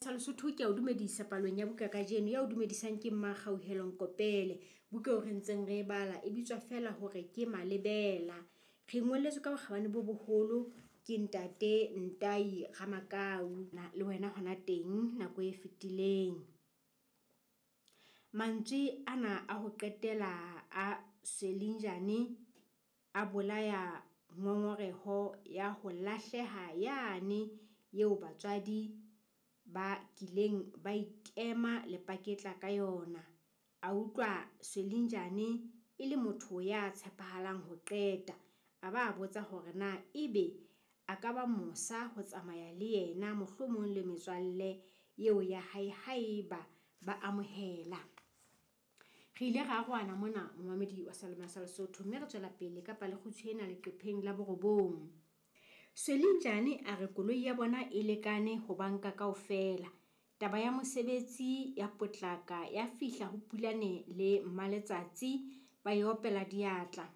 sa Lesotho ke a o dumedisa palong ya buka kajeno. Ya o dumedisang ke Mmakgauhelo Nkopele. Buka eo re ntseng re e bala e bitswa feela hore ke Malebela. Re ngolletswe ka bokgabane bo boholo ke ntate Ntai Ramakau le wena hona teng nako e fetileng. Mantswe ana a ho qetela a Zwelinjane a bolaya ngongoreho ya ho lahleha yane eo batswadi ba kileng ba ikema lepaketla ka yona. A utlwa Zwelinjane e le motho ya tshepahalang ho qeta. A ba botsa hore na ebe a ka ba mosa ho tsamaya le yena mohlomong le metswalle eo ya hae haeba ba amohela. Re ile ra arohana mona momamedi wa Salome sa Lesotho mme re tswela pele ka palekgutshwe ena leqepheng la borobong. Zwelinjane a re koloi ya bona e lekane ho banka kaofela. Taba ya mosebetsi ya potlaka ya fihla ho Pulane le Mmaletsatsi ba e opela diatla.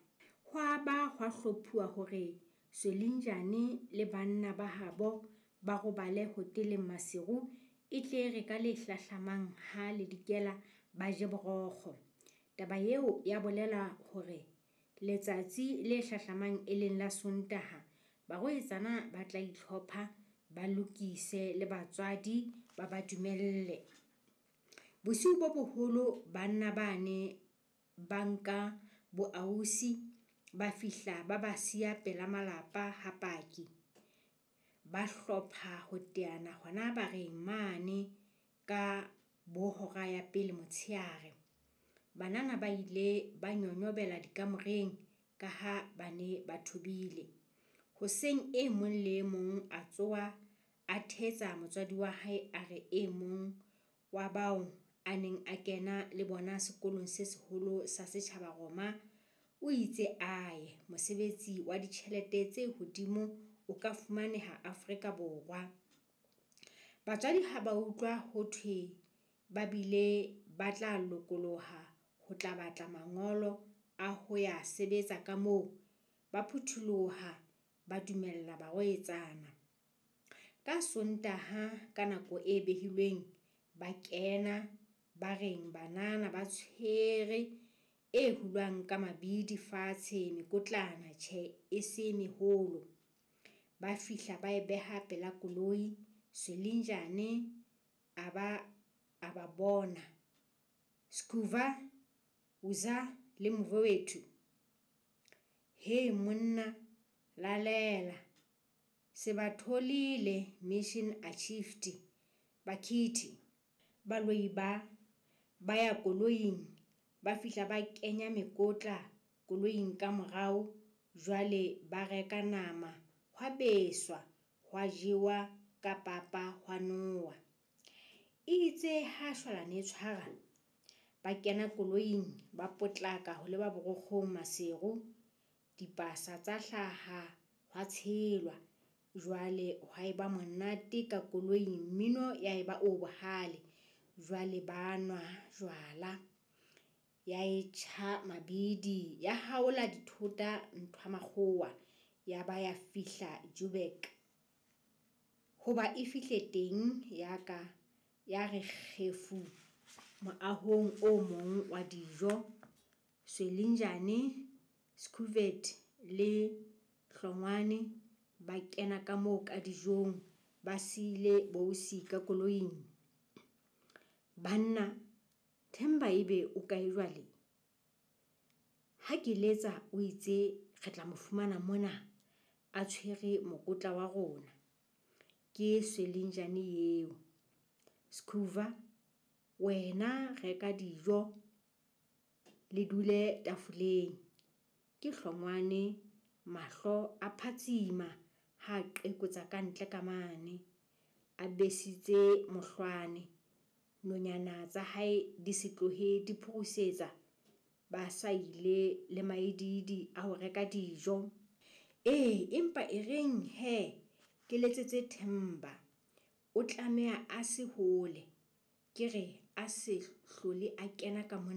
Hwa ba hwa hlophuwa hore Zwelinjane le banna ba habo ba robale hoteleng Maseru e tle re ka le hlahlamang ha le dikela ba je borokgo. Taba eo ya bolela hore letsatsi le hlahlamang e leng la Sontaha barwetsana ba tla itlhopha ba lokise le batswadi ba ba dumelle. Bosiu bo boholo banna bane ba nka boausi ba fihla ba ba siya pela malapa ha paki. Ba hlopha ho teana hona bareng mane ka bo hora ya pele motshehare. Banana ba ile ba nyonyobela dikamoreng ka ha ba ne ba thobile. Hoseng e mong le e mong a tsoha a thetsa motswadi wa hae a re e mong wa bao a neng a kena le bona sekolong se seholo sa setjhaba Roma o itse aye mosebetsi wa ditjhelete tse hodimo o ka fumaneha Afrika Borwa. Batswadi ha ba utlwa ho thwe ba bile ba tla lokoloha ho tla batla mangolo a ho ya sebetsa ka moo, ba phuthuloha ba dumella barwetsana. Ka Sontaha ka nako e behilweng ba kena ba reng banana ba tshwere e hulwang ka mabidi fatshe mekotlana tjhe e se meholo. Ba fihla ba e beha pela koloi. Zwelinjane a ba bona. Skuva, Uza le Mvowethu. He monna lalela se ba tholile mission achieved bakhithi. Baloi ba ya koloing ba fihla ba kenya mekotla koloing ka morao jwale ba reka nama hwa beswa hwa jewa ka papa hwa nowa. Itse ha shwalane e tshwara ba kena koloing ba potlaka ho leba borokgong Maseru. Dipasa tsa hlaha hwa tshelwa. Jwale hwa eba monate ka koloing mmino ya eba o bohale. Jwale ba nwa jwala ya e tjha mabidi ya haola dithota nthwa makgowa ya ba ya fihla Joburg. Hoba e fihle teng ya ka ya re kgefu moahong o mong wa dijo. Zwelinjane, Scovet le Hlongwane ba kena ka moo ka dijong ba siile bousi ka koloing. Banna Themba ebe o kae jwale? Ha ke letsa o itse re tla mo fumana mona a tshwere mokotla wa rona. Ke Zwelinjane eo. Skuva wena reka dijo le dule tafoleng. Ke Hlongwane mahlo a phatsima ha qekotsa ka ntle ka mane. A besitse mohlwane. Nonyana tsa hae di se tlohe di phurusetsa ba sa ile le maedidi a ho reka dijo. Ee, empa e reng he ke letsetse Themba. O tlameha a se hole. Ke re a se hlole a kena ka mona.